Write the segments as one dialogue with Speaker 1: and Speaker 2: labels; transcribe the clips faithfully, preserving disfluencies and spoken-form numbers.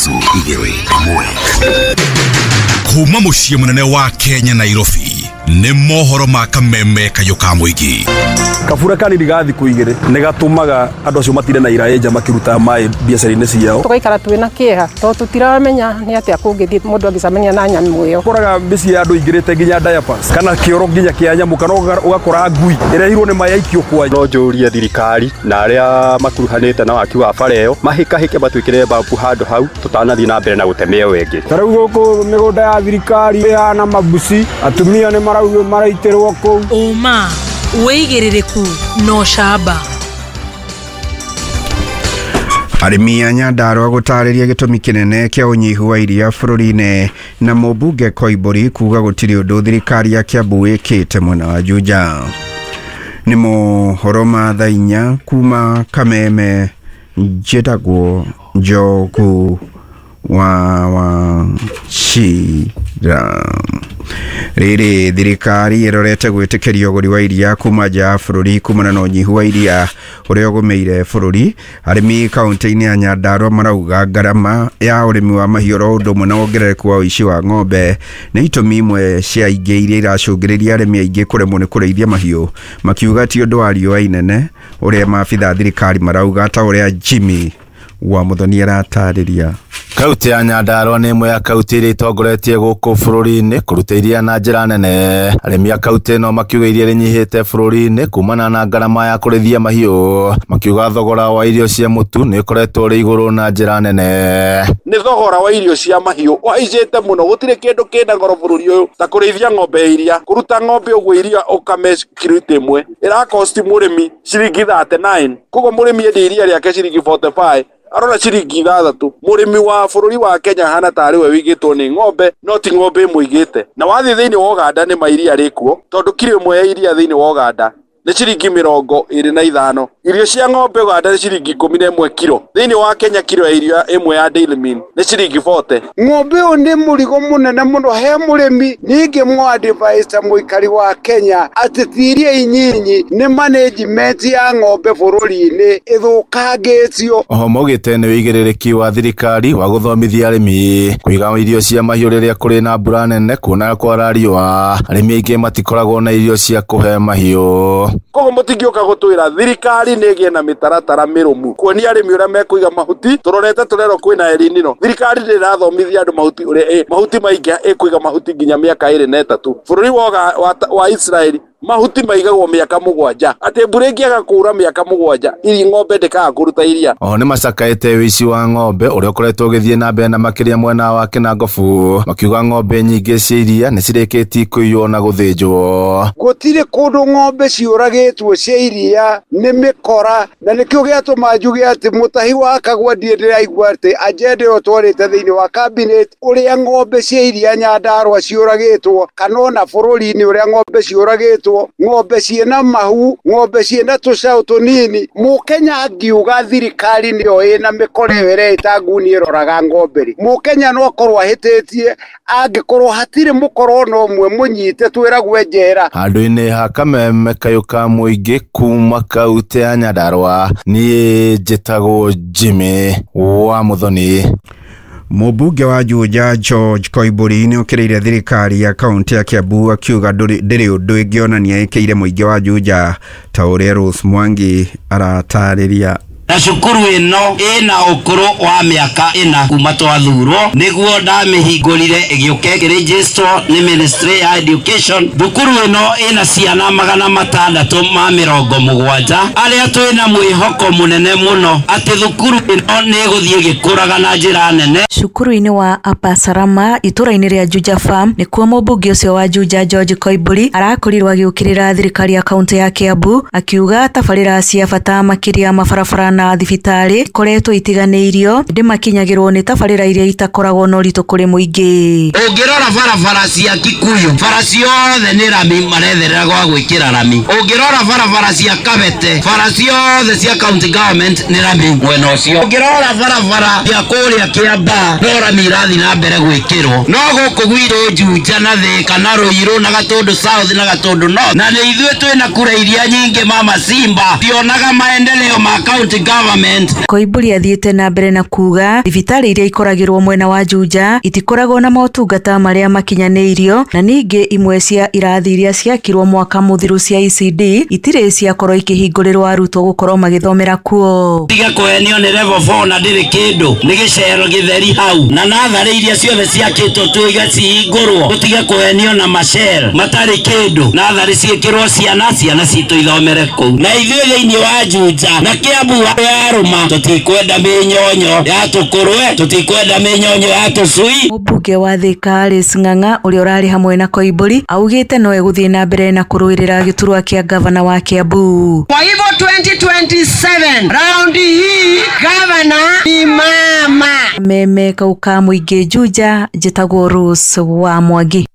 Speaker 1: Ithatũ igĩrĩ ĩmwe.
Speaker 2: Kuma mũciĩ mũnene wa Kenya Nairobi nĩ mohoro ma kameme kayũ ka mũingĩ.
Speaker 3: Kabura kanini ga thikũ igĩrĩ nĩ gatũmaga andũ acio matire na iraĩ nja makĩruta maĩ biacara-inĩ ciao.
Speaker 4: Tũgaikara twĩna kĩeha tondũ tũtiramenya nĩ atĩa kũngĩthiĩ mũndũ angĩcemania na nyamũ ĩyo.
Speaker 3: Ũkoraga mĩciĩ ya andũ ingĩrĩte nginya diapers kana kĩoro nginya kĩa nyamũ kana ũgakora ngui ĩrehirwo nĩ maĩ aikio kwa.
Speaker 5: No njũrie thirikari na arĩa makuruhanĩte na waki wa bara ĩyo mahĩkahĩke matwĩkĩre babu handũ hau tũtanathiĩ na mbere na gũteme ĩyo ĩngĩ.
Speaker 6: Ta rĩu gũkũ mĩgũnda ya thirikari ĩhana mabuci, atumia nĩ maraitĩrwo kũu.
Speaker 7: Ũma wĩigĩrĩrĩku na ũcamba.
Speaker 8: Arĩmi a Nyandarua gũtarĩria gĩtũmi kĩnene kĩa ũnyihu wa iria bũrũri-inĩ na mũmbunge Koimbũri kuga gũtirĩ ũndũ thirikari ya Kiambu ĩkĩte mwena wa Juja. Nĩ mohoro ma thaa inya kuma Kameme, njĩtagwo Njogu wa Wachira. Rĩrĩ thirikari ĩrorete gwĩtĩkĩria ũgũri wa iria kuma nja ya bũrũri kumana na ũnyihu wa iria ũrĩa ũgũmĩire bũrũri. Arĩmi kaunti-inĩ ya Nyandarua marauga ngarama ya ũrĩmi wa mahiũ oro ũndũ ũmwe na wongerereku wa ũici wa ng'ombe nĩ itũmi imwe cia ingĩ iria iracũngĩrĩria arĩmi aingĩ kũremwo nĩ kũrĩithia mahiũ, makiuga ti ũndũ wa riũa inene ũrĩa maabitha thirikari marauga, ta ũrĩa Jimmy wa Muthoni aratarĩria.
Speaker 9: Kaunti ya Nyandarua nĩ ĩmwe ya kaunti iria itongoretie gũkũ bũrũri-inĩ kũruta iria na njĩra nene. Arĩmi a kaunti ĩno makiuga iria rĩnyihĩte bũrũri-inĩ kumana na ngarama ya kũrĩithia mahiũ, makiuga thogora wa irio cia mũtu nĩ ũkoretwo ũrĩ igũrũ na njĩra nene.
Speaker 10: Nĩ thogora wa irio cia mahiũ ũhaicĩte mũno, gũtirĩ kĩndũ kĩna goro bũrũri ũyũ ta kũrĩithia ng'ombe ya iria. Kũruta ng'ombe ũguo iria ũkame kiriti ĩmwe ĩrakosti mũrĩmi ciringi thirty nine, koguo mũrĩmi endia iria rĩake ciringi forty five arona ciringi ithathatũ. Mũrĩmi wa bũrũri wa Kenya hana tarĩ we wĩigĩtwo nĩ ng'ombe no ti ng'ombe ĩmũigĩte. Na wathiĩ thĩinĩ wa Uganda nĩ ma iria rĩkuo, tondũ kiro ĩmwe ya iria thĩinĩ wa Uganda nĩ ciringi mĩrongo ĩrĩ na ithano. Irio cia ng'ombe Uganda nĩ ciringi ikũmi na ĩmwe kiro, thĩinĩ wa Kenya kiro ya irio ĩmwe ya Daily Meal nĩ ciringi forty.
Speaker 6: Ng'ombe ũyũ nĩ mũrigo mũnene mũno he mũrĩmi. Ningĩ mũ-advise mũikari wa Kenya atĩ ti iria inyinyi nĩ management ya ng'ombe bũrũri-inĩ ĩthũkangĩtio.
Speaker 9: Oho maugĩte nĩ wĩigĩrĩrĩki wa thirikari wa gũthomithia arĩmi kũiga irio cia mahiũ rĩrĩa kũrĩ na mbura nene, kuona kwara riũa arĩmi aingĩ matikoragwo na irio cia kũhe mahiũ.
Speaker 10: Koguo mũtingĩũka gũtwĩra thirikari nĩ ĩgĩe na mĩtaratara mĩrũmu kuonia arĩmi ũrĩa mekũiga mahuti. Tũrorete tũrerwo kwĩna El Nino, thirikari ndĩrathomithia andũ mahuti ũrĩa mahuti maingĩ ĩkũiga mahuti nginya mĩaka ĩrĩ na ĩtatũ. Bũrũri wa, wa Israeli mahuti maigagwo mĩaka mũgwanja, atĩ mbura ĩngĩaga kuura mĩaka mũgwanja iri ng'ombe ndĩkaga kũruta iria.
Speaker 9: Oho nĩ macakaĩte ũici wa ng'ombe ũrĩa ũkoretwo ũgĩthiĩ na mbere na makĩria mwena wa Kĩnangobu, makiuga ng'ombe nyingĩ cia iria nĩ cirĩkĩtie kũiywo na gũthĩnjwo.
Speaker 6: Gũtirĩ kũndũ ng'ombe ciũragĩtwo cia iria nĩ mĩkora, na nĩkĩo gĩatũma njuge atĩ mũtahi wa Kagwa ndiĩ ndĩraigua atĩ agenda ĩyo twarĩte thĩinĩ wa cabinet ũrĩa ng'ombe cia iria Nyandarua ciũragĩtwo kana ona bũrũri-inĩ ũrĩa ng'ombe ciũragĩtwo, ng'ombe ciĩna mahu, ng'ombe ciĩna tũcaũ tũnini. Mũkenya angiuga thirikari nĩyo ĩna mĩkora ĩyo ĩreĩta nguni ĩroraga ng'ombe rĩ, mũkenya no akorwo ahĩtĩtie angĩkorwo hatirĩ mũkora ona ũmwe mũnyite twĩragwe njera.
Speaker 9: Handũ-inĩ ha kameme kayũ ka mũingĩ kuma kaunti ya Nyandarua, niĩ njĩtagwo Jimmy wa Muthoni.
Speaker 8: Mũmbunge wa Juja George Koimbũri nĩ okĩrĩire thirikari ya kaunti ya Kiambu akiuga ndĩrĩ ũndũ ĩngĩonania ĩkĩire mũingĩ wa Juja, ta ũrĩa Rose Mwangi aratarĩria.
Speaker 11: Na cukuru ĩno ĩna ũkũrũ wa mĩaka ĩna kuma twathurwo, nĩguo ndamĩhingũrire ĩgĩũka ĩkĩregisterwo nĩ Ministry ya Education. Thukuru ĩno ĩna ciana magana matandatũ ma mĩrongo mũgwanja arĩa twĩna mwĩhoko mũnene mũno atĩ thukuru ĩno nĩ ĩgũthiĩ ĩgĩkũraga na njĩra nene.
Speaker 12: Cukuru-inĩ wa Upper Salama itũra-inĩ rĩa Juja Farm nĩkuo mũmbunge ũcio wa Juja George Koimbũri arakorirwo agĩũkĩrĩra thirikari ya kaunti ya Kiambu akiuga tabarĩra cia bata makĩria mabarabara na thibitarĩ ikoretwo itiganĩirio ĩndĩ makinyagĩrwo nĩ tabarĩra iria itakoragwo na ũritũ kũrĩ mũingĩ.
Speaker 11: Ũngĩrora barabara cia Kikuyu, bara ciothe nĩ rami maretherera gwa gwĩkĩra rami. Ũngĩrora barabara cia Kabete, bara ciothe cia county government nĩ rami mwena ũcio. Ũngĩrora barabara cia kũrĩa Kĩambaa, no rami irathiĩ na mbere gwĩkĩrwo. No gũkũ gwitũ Juja na Thĩka na Ruiru na Gatũndũ South na Gatũndũ North, na nĩ ithuĩ twĩna kura iria nyingĩ mama Simba tionaga maendeleo ma county government.
Speaker 12: Koimburi athiĩte na mbere na kuga thibitarĩ iria ikoragĩrwo mwena wa Juja itikoragwo na motungata marĩa makinyanĩirio, na ningĩ imwe cia irathi iria ciakirwo mwaka mũthiru cia E C D itirĩ ciakorwo ikĩhingũrĩrwo arutwo gũkorwo magĩthomera kuo.
Speaker 11: Tiga kũhenio nĩ level four na ndĩrĩ kĩndũ, nĩ gĩcero gĩtheri hau, na natharĩ iria ciothe ciakĩtwo tuiga cihingũrwo, tũtige kũhenio na macel matarĩ kĩndũ, natharĩ ciĩkĩrwo ciana, ciana citũ ithomere kũu. Na ithuĩ thĩinĩ wa Juja na Kiambu yarũma, tũtikwenda mĩnyonyo ya tũkũrwe, tũtikwenda mĩnyonyo ya tũcui.
Speaker 12: Mũmbunge wa Thika Alice Ng'ang'a ũrĩa ũrarĩ hamwe na Koimburi augĩte no egũthiĩ na mbere na kũrũĩrĩra gĩturwa kĩa gavana wa Kiambu.
Speaker 1: Kwa hivyo twenty twenty-seven raundi hii gavana ni mama.
Speaker 12: Meme kauka mũingĩ Juja, njĩtagwo Rose wa Mwangi.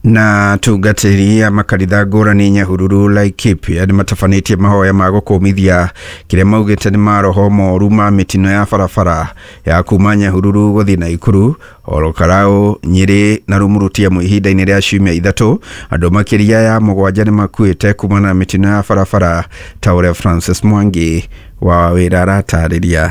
Speaker 8: Na tungatĩri a makanitha ngũrani Nyahururu Laikipia nĩ matabanĩtie mahoya ma gũkũmithia kĩrĩa maugĩte nĩ maroho moru ma mĩtino ya barabara ya kuma Nyahururu gũthiĩ Naikuru, Olokarau, Nyĩrĩ na Rumurutia ihinda-inĩ rĩa ciumia ithatũ. Andũ makĩria ya mũgwanja nĩ makuĩte kumana na mĩtino ya barabara ta ũrĩa Francis Mwangi wa wĩra aratarĩria.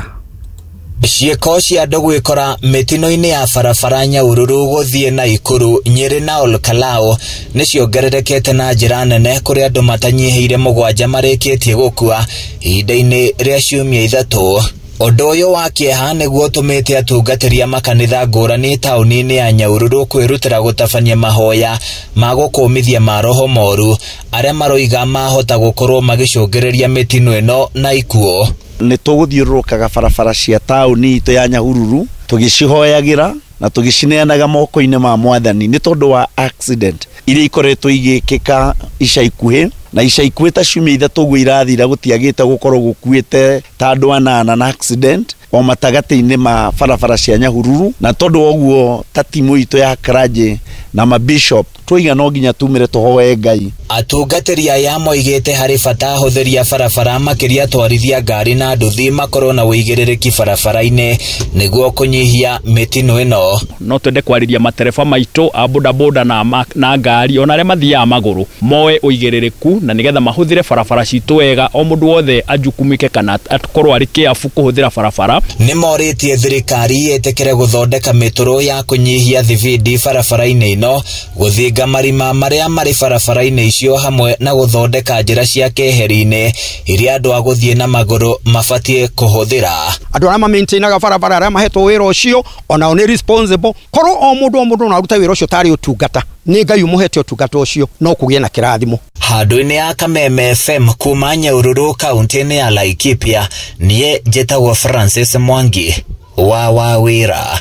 Speaker 13: Ciĩko cia andũ gwĩkora mĩtino-inĩ ya barabara Nyahururu gũthiĩ Naikuru, Nyĩrĩ na Olkalau nĩ ciongererekete na njĩra nene, kũrĩa andũ matanyihĩire mũgwanja marĩkĩtie gũkua ihinda-inĩ rĩa ciumia ithatũ. Ũndũ ũyũ wa kĩeha nĩguo ũtũmĩte atungatĩri a makanitha ngũrani taũni-inĩ ya Nyahururu kwĩrutĩra gũtabania mahoya ma gũkũmithia maroho moru arĩa maroiga mahota gũkorwo magĩcũngĩrĩria mĩtino ĩno na ikuũ.
Speaker 14: Nĩ tũgũthiũrũrũkaga barabara cia taũni itũ ya Nyahururu tũgĩcihoyagĩra na tũgĩcineanaga moko-inĩ ma Mwathani nĩ tondũ wa accident iria ikoretwo igĩkĩka ica ikuhĩ, na ica ikuhĩ ta ciumia ithatũ ũguo irathira gũtiagĩte gũkorwo gũkuĩte ta andũ anana na accident o matagatĩ-inĩ ma barabara cia Nyahururu. Na tondũ wa ũguo ta timu itũ ya clergy na mabishop twoiga no nginya tumire tũhoe Ngai.
Speaker 13: Atungatĩri aya moigĩte harĩ bata ahũthĩri a barabara makĩria atwarithia ngari na nduthi makorwo na ũigĩrĩrĩki barabara-inĩ nĩguo kũnyihia mĩtino ĩno.
Speaker 15: No twende kwarĩria matereba maitũ a bodaboda na, na ngari ona arĩa mathiaga magũrũ moe ũigĩrĩrĩku na nĩgetha mahũthĩre barabara citũ wega, o mũndũ wothe ajukumike kana akorwo arĩ kĩabu kũhũthĩra barabara.
Speaker 13: Nĩ morĩtie thirikari ĩtĩkĩre gũthondeka mĩtũrũ ya kũnyihia thibindi barabara-inĩ ĩno, gũthinga marima marĩa marĩ barabara-inĩ icio hamwe na gũthondeka njĩra cia keheri-inĩ iria andũ a gũthiĩ na magũrũ mabatiĩ kũhũthĩra.
Speaker 16: Andũ arĩa ma-maintainaga barabara arĩa mahetwo wĩra ũcio onao nĩ responsible, korwo o mũndũ o mũndũ no arute wĩra ũcio tarĩ ũtungata, nĩ Ngai ũmũhete ũtungata ũcio no kũgĩe na kĩrathimo.
Speaker 13: Handũ-inĩ ya Kameme F M kuma Nyahururu kaunti-inĩ ya Laikipia, niĩ njĩtagwo Francis Mwangi wa Wawĩra.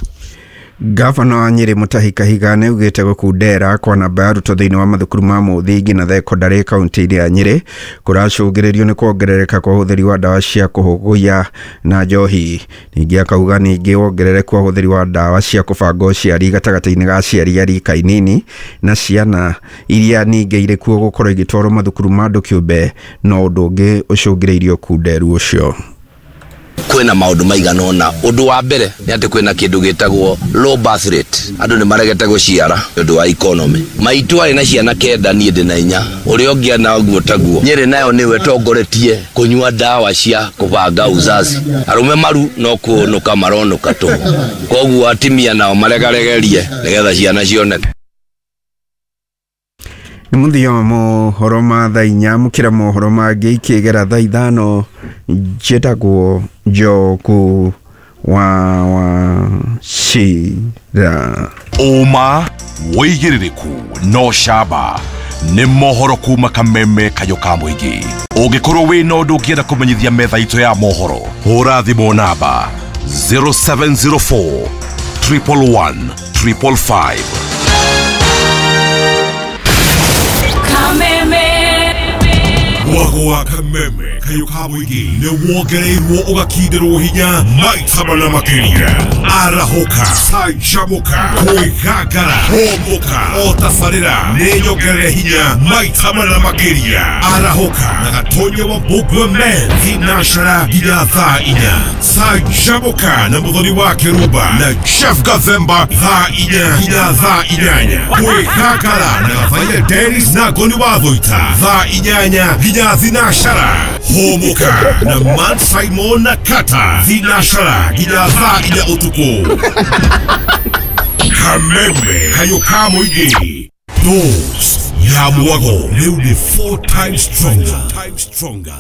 Speaker 8: Gavana wa Nyĩrĩ Mutahi Kahiga nĩ augĩte gũkundera kwa namba ya arutwo thĩinĩ wa mathukuru ma mũthingi na thekondarĩ kaunti-inĩ ya Nyĩrĩ kũracũngĩrĩrio nĩ kuongerereka kwa ũhũthĩri wa ndawa cia kũhũgũya na njohi. Ningĩ akauga ningĩ wongerereku wa ũhũthĩri wa ndawa cia kũbanga ũciari gatagatĩ-inĩ ga aciari a rika inini na ciana iria ningĩ irĩ kuo gũkorwo igĩtwarwo mathukuru ma andũ kĩũmbe no ũndũ ũngĩ ũcũngĩrĩirie ũkunderu ũcio.
Speaker 17: Kwĩna maũndũ maigana ũna. Ũndũ wa mbere nĩ atĩ kwĩna kĩndũ gĩtagwo low birth rate, andũ nĩ maregete gũciara nĩ ũndũ wa economy. Maitũ arĩ na ciana kenda, niĩ ndĩ na inya, ũrĩa ũngĩ ana ũguo taguo. Nyĩrĩ nayo nĩwe ĩtongoretie kũnyua ndawa cia kũbanga uzazi. Arũme maru no kũnũka maronũka tũhũ, koguo atimia nao maregaregerie nĩgetha ciana cioneke.
Speaker 8: Nĩ mũthia wa mohoro ma thaa inya, mũkĩra mohoro mangĩ ikĩgera thaa ithano. Njĩtagwo Njoku wa Wachira.
Speaker 2: Ũma wĩigĩrĩrĩku no camba nĩ mohoro kuma Kameme kayũ ka mũingĩ. Ũngĩkorwo wĩna ũndũ ũngĩenda kũmenyithia metha itũ ya mohoro, hũra thimũ namba zero seven zero four triple one triple five. Mwago wa Kameme kayũ ka mũingĩ nĩ wongereirwo ũgakinderwo hinya maita mana makĩria. Arahũka, canjamũka, kwĩgangara, hũmũka, o tabarĩra nĩ nyongerere hinya maita mana makĩria. Arahũka na Gatonya wa Mbũgua Men thinacara nginya thaa inya. Canjamũka na Mũthoni wa Kĩrumba na Jeff Gathemba thaa inya nginya thaa inyanya. Kwĩgangara na Gathaia Dennis na Ngoni wa Thũita thaa inyanya nginya Nginya thinacara. Hũmũka na Matt Simon na Kata. Thinacara nginya thaa inya ũtukũ. Kameme kayo ka mũingĩ. Dose ya mwago rĩu nĩ four times stronger. Times stronger.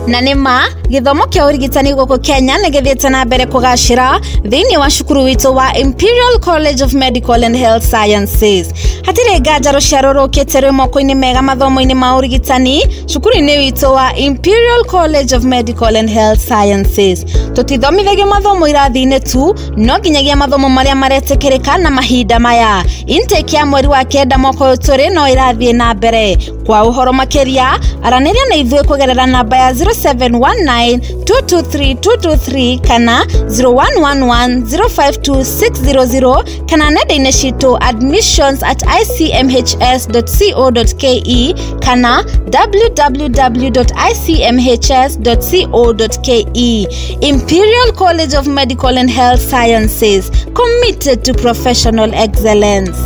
Speaker 18: Na nĩ ma gĩthomo kĩa ũrigitani gũkũ Kenya nĩ gĩthiĩte na mbere kũgacĩra thĩinĩ wa cukuru witũ wa Imperial College of Medical and Health Sciences. Hatirĩ nganja rũciaro rũkĩte rwĩ moko-inĩ mega mathomo-inĩ ma ũrigitani cukuru-inĩ witũ wa Imperial College of Medical and Health Sciences. Tũtithomithagio mathomo irathi-inĩ tu, no nginyagia mathomo marĩa maretĩkĩrĩka na mahinda maya. Intake ya mweri wa kenda mwaka ũyũ tũrĩ no ĩrathiĩ na mbere. Kwa ũhoro makĩria, aranĩria na ithuĩ kũgerera namba ya zero seven one nine two two three two two three kana zero one one one zero five two six zero zero kana nenda-inĩ citũ admissions at i c m h s dot co dot k e kana w w w dot i c m h s dot co dot k e. Imperial College of Medical and Health Sciences, committed to professional excellence.